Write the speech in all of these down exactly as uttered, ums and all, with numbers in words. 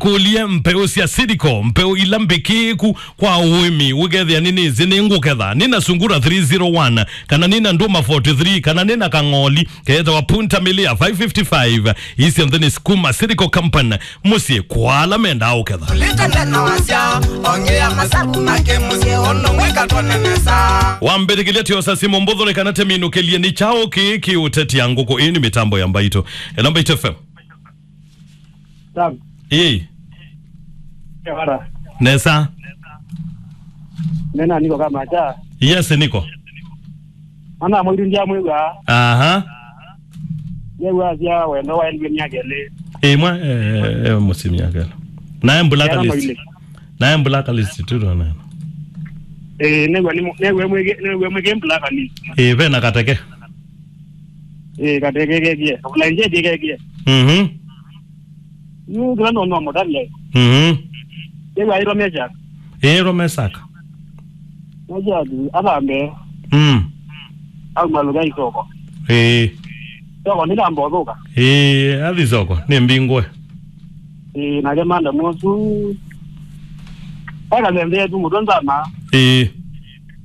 Ũlye mbeũ sya Seedco, mbeũ ila mbĩkĩĩku kwa ũĩmi, ũkethĩa nĩ nĩsĩ nĩ ngũketha, nĩ na sungura three zero one, kana nĩ na ndũma forty three, kana nĩ na kang'oli keetawa Punta Milia five fifty-five. Ii syonthe nĩ Sukuma Seedco Company, mũsyĩ kwa ala mendaa ũketha. Lĩta nthena wasya, ongea masaku make mũsyĩ ũndũ mwĩkatwa nĩ nesa. Wambĩtĩkĩlya tyosa simũ mbũthũ nĩ kana tĩminũkĩlye nĩ kyaũ kĩĩ kĩũtetia ngũkũ. Ĩĩ nĩ mĩtambo ya Mbaitũ. Ĩla Mbaitũ F M. Sam. Ĩĩ. Kevara. Nesa. Nena niko kama cha. Yes, niko. Ana mwiru ndia mwiwa. Aha. Nĩw'asya wendo waendie myaka ĩlĩ. Ĩmwe, eh, eh, mũsyĩ myaka ĩlĩ. Naye mbula Yana kalisi. Maile. Naye mbula kalisi tu ndo neno. Eh, nĩw'e nĩ mu-, nĩw'e mwĩge, nĩw'e mwĩge mbula kalisi. Eh, ve na kateke. Eh, kateke kekie. Kabula nje kekie. Mhm. Yu kila ndo no mutale. Mhm. Nĩw'e airwa mecha. Ĩĩ, ro Mesaka. Mecha athambe. Mm. Au maluga isoko. Ĩĩ. Soko nĩ ndambothuka. Ĩĩ, athi soko, nĩ mbingwe. Ĩĩ, nake manda mũsu. Eka nthembe yetu mũtwe nzama. Ĩĩ.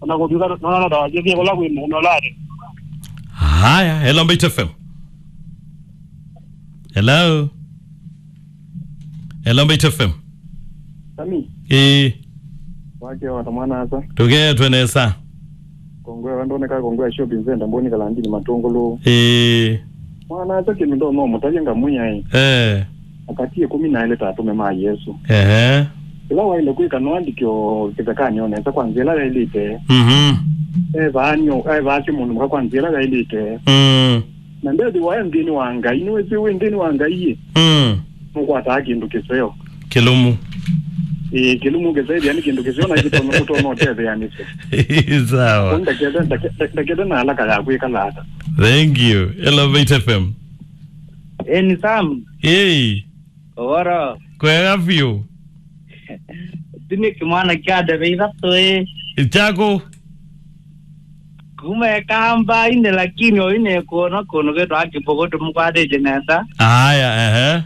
Ona kũthuka, nona na dawa jeke kula kwĩ mũno lari. Haya, hello, Mbaitu F M. Hello. Hello, Mbaitu F M. Sami. Ĩĩ. Wake wata mwana asa. Tũketwe nesa. Kongwe wandoneka kongwe shopping center mboni kalandini matungulu. Ĩĩ. Mwana asa kĩndũ ndo no mũtavye ngamwĩa ĩ. Eh. Akati ĩkũmi na elĩ ta atume ma Yesu. Ehe. Ĩla waile kwĩka no andĩkyo kĩthekanĩ o nesa kwa nzĩa ĩla yaĩlĩte. Mhm. Evaanyo, evaasyo mũndũ mũka kwa nzĩa ĩla yaĩlĩte. Mm. Na ndethĩwa e nthĩnĩ wa Ngai, nĩwĩsĩ wĩ nthĩnĩ wa Ngai ĩ? Mm. Nũkwataa kĩndũ kĩseo. Kĩlũmu. Ĩĩ, kĩlũmu kĩseo nĩ kĩndũ kĩseo na kĩtono kũtono ũtetheanĩsya. Sawa. Ndakethe, ndake-, ndakethe na alaka ya kwĩkala ata. Thank you. Hello, Mbaitu F M. Eni Sam. Hey. Ũvoro. Kwega vyũ. Tini kĩmwana kya ndeve ithatũ ĩ. Chako. Kuma ekamba ine lakini oine kuona kũndũ kwĩtwa kĩmbũkũ tũmũkwatĩte nesa. Aya, ehe.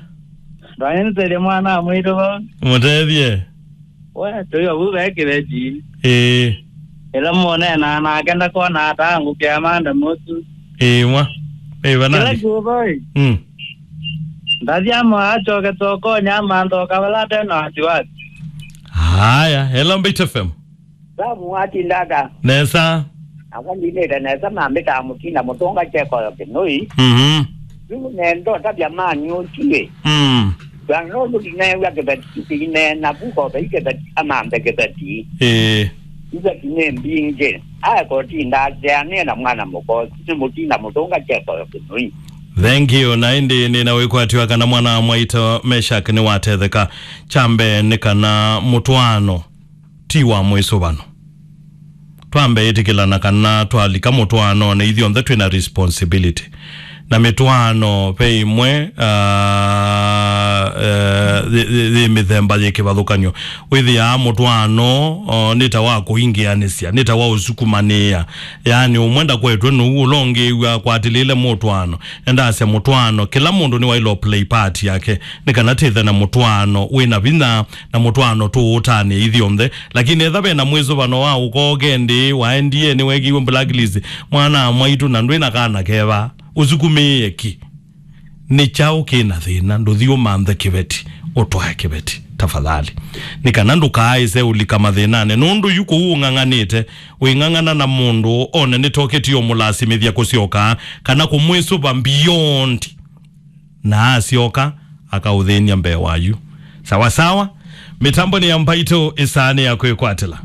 Ndwanĩnĩsĩlye mwana wa mwĩtũ vo. Mũtethye. We, tũyo vu ve kĩveti. Ĩĩ. Ĩla mũneenaa nake ndakona ata ngũkĩa manda mũsu. Ĩĩ, mwa. Ĩĩ, kĩla nani? Kĩũvoi. Mm. Ndathi ama achoke tokonya amanthoka vala tena wasiwasi. Haya, hello, Mbaitu F M. Samu watindaga. Nesa. Akwa ndinĩte nesa mambĩtaa mũtinda mũtũnga chekoyo kĩnũi. Mhm. Yu nendo tavya mani ũtiĩ. Mm. Twanũndũ ndineew'a kĩveti kĩineena vu kove kĩveti amanthe kĩveti. Ĩĩ. Kĩveti nĩ mbingĩ. Aekotinda ateanĩe na mwana mũkosi nĩ mũtinda mũtũnga chekoyo kĩnũi. Thank you. Na ĩndĩ nĩna wĩkwatyo kana mwana wa mwaitũ Meshak nĩwatetheka. Kya mbee nĩ kana mũtwaano ti wa mwĩsũvano. Twambe ĩtĩkĩlana kana twalika mũtwaanonĩ, ithyonthe twĩ na responsibility. Na mĩtwaano ve ĩmwe, ah, eh, yĩ, yĩ, yĩ mĩthemba yĩ kĩvathũkany'o. Wĩthĩaa mũtwaano, o, nĩ ta wa kũingĩanĩsya, nĩ ta wa ũsukumanĩĩa. Yaani, ũmwe ndakwetwe nũu, ũla ũngĩ ĩw'a akwatĩlĩle mũtwaano. Endasya mũtwaano, kĩla mũndũ nĩwaĩlwe play part yake, nĩ kana tĩthe na mũtwaano wĩ na vinya, na mũtwaano tũũtanĩe ithyonthe. Lakini etha ve na mwĩsũvano wa ũkoke ndĩ waendie nĩwekiwe blacklist, mwana wa mwaitũ na ndwĩ na kana keva, ũsukumĩĩe ki? Nĩ kyaũ kĩ na thĩna? Ndũthi ũmanthe kĩveti, ũtwae kĩveti, tafadhali. Nĩ kana ndũkaaĩse ũlika mathĩnanĩ, nũndũ yu kũu ũng'ang'anĩte, wĩng'ang'ana na mũndũ one nĩtoketie ũmũlasimĩthya kũsyoka, kana kũmwĩsũva beyond. Na asyoka, akaũthĩny'a mbee wayu. Sawa sawa, mĩtambo nĩ ya Mbaitũ, ĩsaa nĩ ya kwĩkwatĩla.